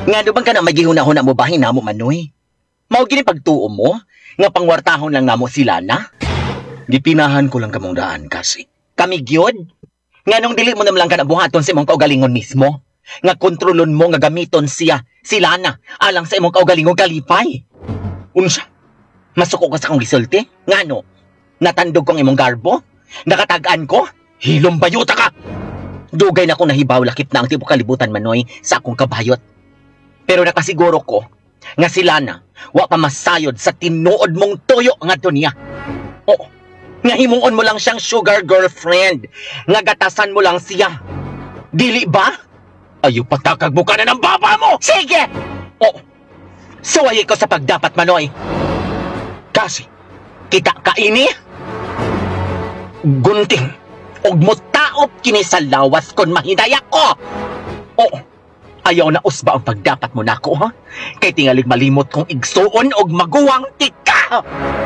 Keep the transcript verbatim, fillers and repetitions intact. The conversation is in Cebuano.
Ngano bang kana magihuna-huna mo bahin namo, Manoy? Mao gini pagtuo mo nga pangwartahon lang namo sila na? Gipinahan ko lang kamong daan kasi. Kami gyud? Nganong dili mo naman lang kana buhaton sa imong kaugalingon mismo? Nga kontrolon mo nga gamiton siya, sila na, alang sa imong kaugalingon kalipay. Unsa? Masuko ka sa akong gisulti? Ngano? Natandog kong imong garbo? Nakatag-an ko? Hilom bayuta ka! Dugay na akong nahibaw, lakip na ang tibuok kalibutan, Manoy, sa akong kabayot. Pero nakasiguro ko nga sila na wa pa masayod sa tinuod mong tuyo ngadto niya. Oo, nga himuon mo lang siyang sugar girlfriend, nga gatasan mo lang siya. Dili ba? Ayo patakag mo ka na ng baba mo! Sige! Oo, suwayi ko sa pagdapat, Manoy. Kasi, Kita ka ini? Gunting. Og mutaop kini sa lawas kon mahinaya ko. Oo, ayaw na usba ang pagdapat mo nako, ha? Kay tingalig malimot kong igsuon og maguwang tika.